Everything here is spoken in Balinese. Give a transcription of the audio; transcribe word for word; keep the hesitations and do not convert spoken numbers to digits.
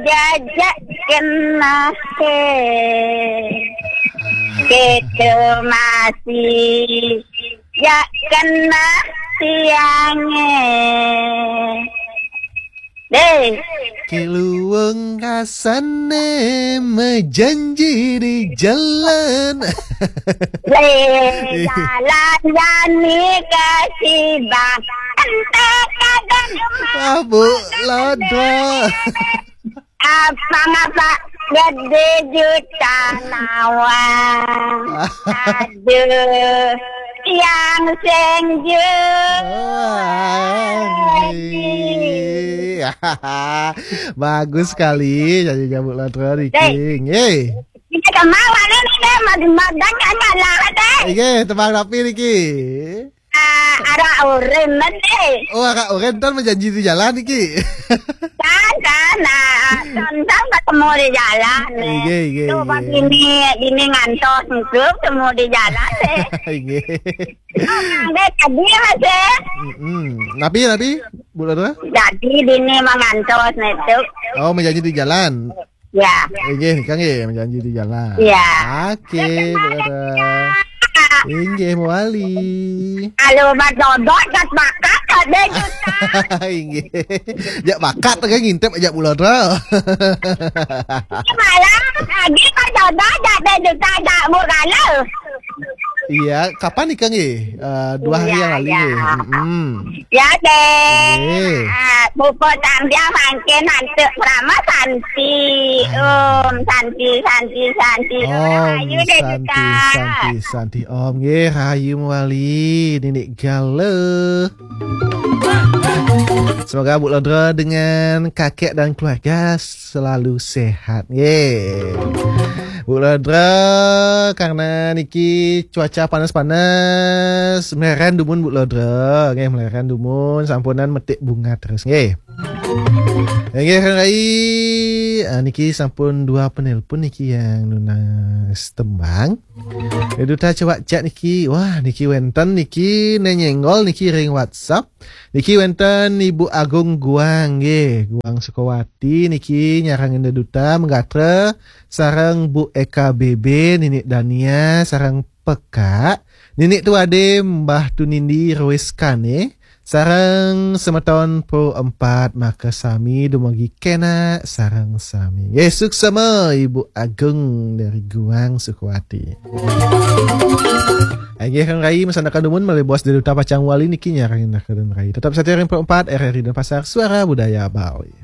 Jajak kena he. Kita masih jak kena tiang eh. Deh. Keluang kasane mejanji di jalan. Le jalan jani ke sibang. Ente kadang. Ah, Bu Lodra. Apa ngapa gede juta nawang. Aduh, yang senju. Wah, iya. Bagus sekali jadi jamu Lodra niki. Nggih. Ini kemauan ini deh, madang kan kalah deh. Nggih, tembang rapi niki. Ah, arah oren nanti. Oh, arah oren tan mejanji di jalan iki. Tan, tan, ah, tan, tan ketemu di jalan nih. Iya, iya. Tuh, pas ini, ini ngantos tuh ketemu di jalan nih. Iya. Oh, Kang Dek, tadi masih. Mm-mm. Napi, napi, Bu Lodra? Jadi dini mengantos nih tuh. Oh, mejanji di jalan. Ya. Nggih, nika nggih menjanji di jalan. Ya. Oke, Bu Lodra. Inggih, mawali. Kalau Mas Dodot kat bakat kat deh juta. Inggih. Jak bakat kan ngintip aja Bu Lodra. Malah lagi Mas Dodot kat deh juta jak Bu Gala. Iya, kapan nika nggih? Eh, dua hari yang lalu nggih. Mm-mm. Ya deh. Nggih. Ah, pupuk tambah mangkin hantu Prama Santi. Om Santi, Santi, Santi. Om Ayu deh Santi, juta. Santi, Santi. Om nggih, rahayu mawali Ninik Gala. Semoga Bu Lodra dengan kakek dan keluarga selalu sehat. Nggih. Bu Lodra, karena niki cuaca panas-panas, meleran dumun Bu Lodra. Nggih, meleran dumun, sampunan metik bunga terus. Nggih. Nggih, Kang Rai, ah, niki sampun dua penelpon niki yang nunas tembang. Duta cewak cak niki, wah, niki wenten niki nenyenggol niki ring WhatsApp. Niki wenten Ibu Agung Guang nggih, Guang Sukawati niki nyarang Indah Duta menggatra sareng Bu Eka B B, Ninik Dania sareng Peka, Ninik Tuade Mbah Tunindi Rois Kane sareng semeton Pro empat maka sami dumugi kena sareng sami. Nggih, suksema Ibu Agung dari Guang Sukawati. Inggih, Kang Rai, masandekan dumun malih bos Duta pacang wali niki nyarengin Kang Rai. Tetap setia ring Pro empat R R I Denpasar, Suara Budaya Bali.